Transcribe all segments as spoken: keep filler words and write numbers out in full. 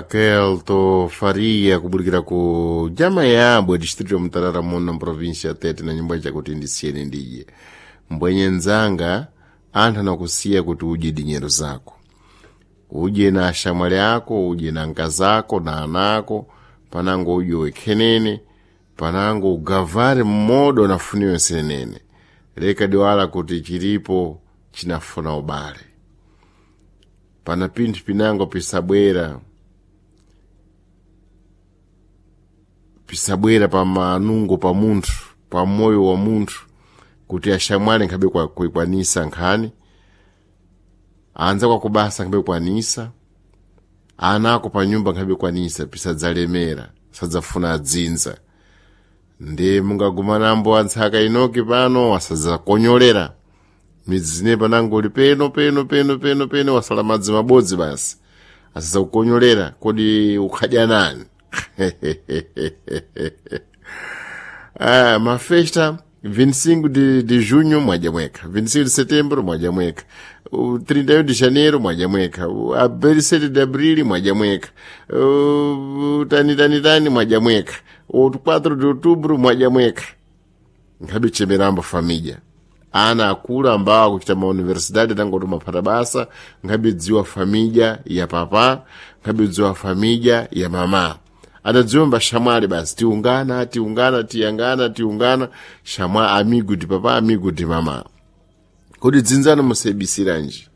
Kelto Faria kubulikira ku jama yabwe distrito ya Mutarara muno mprovinsia Tete na nyumba chakuti ndisiyeni ndidye mbwenye nzanga anthu anakusiya kuti udye dinyero zako udye na ashamwali ako udye na nkazako na anako panango udye wekhenene panango ugavare mmodo nafuniwe senene leka diwala kuti chilipo chinafuna ubale pana pinthu pinango pisabwera pisabwera pa manungo pa munthu pa moyo wa munthu kuti ashamwali nkhabe kwa- kuikwanisa nkhani anza kwakubasa nkhabe kwanisa ana ako pa nyumba nkhabe kwanisa pisadzalemera sadzafuna adzinza ndi mungagumanambo antsaka inoki pano asadzakonyolera midzi zine panango uli peno peno peno peno peno wasala madzi mabodzi basi asadzakukonyolera kodi ukhadya nani ah, mafesta vinte e cinco de, de junho mwadya mwekha, vinte e cinco de setembro mwadya mwekha, o trinta e um de janeiro mwadya mwekha, o a sete de abril mwadya mwekha, o tani tani tani mwadya mwekha, o quatro de outubro mwadya mwekha. Nkhabe chemerambo família ana akulu ambao akuchita mauniversidade tangoti maphata basa nkhabe dziwa família ya papa, nkhabe dziwa família ya mama, adadziwa mbashamwali basi tiungana tiungana tiyangana tiungana shamwa amigo di papa, amigo di mama. Kodi dzinzano musayibisiranji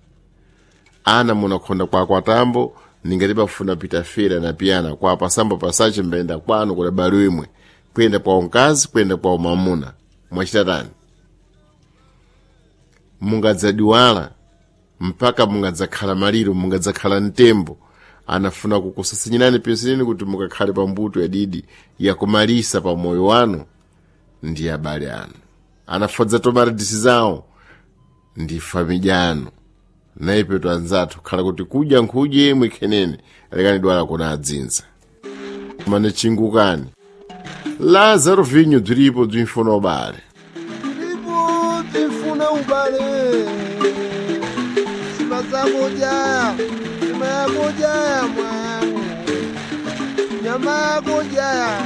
ana munakhonda kwa kwatambo ningati pafuna pita fera na piyana kwa pasamba pasache mbayenda kwanu kuda balo imwe kuyenda kwa unkazi kuyenda kwa umamuna mwachita tani mungadzadiwala mpaka mungadzakhala maliro mungadzakhala mtembo anafuna kukusasinyirani pesineni kuti mukakhale pa mbuto yadidi yakumalisa pa moyo wanu ndi abale anu anafodza tomaritisi zawo ndi famidya anu naipeto anzathu khala kuti kudya nkhudye imwe khenene lekani dwala kuna adzinza mane chingukani Lazaro vinho bziripo bzimfuna ubale. Ndipo tifuna ubale sima zakudya nyama yakudya mwangu nyama yakudya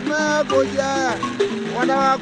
nyama yakudya wana wako.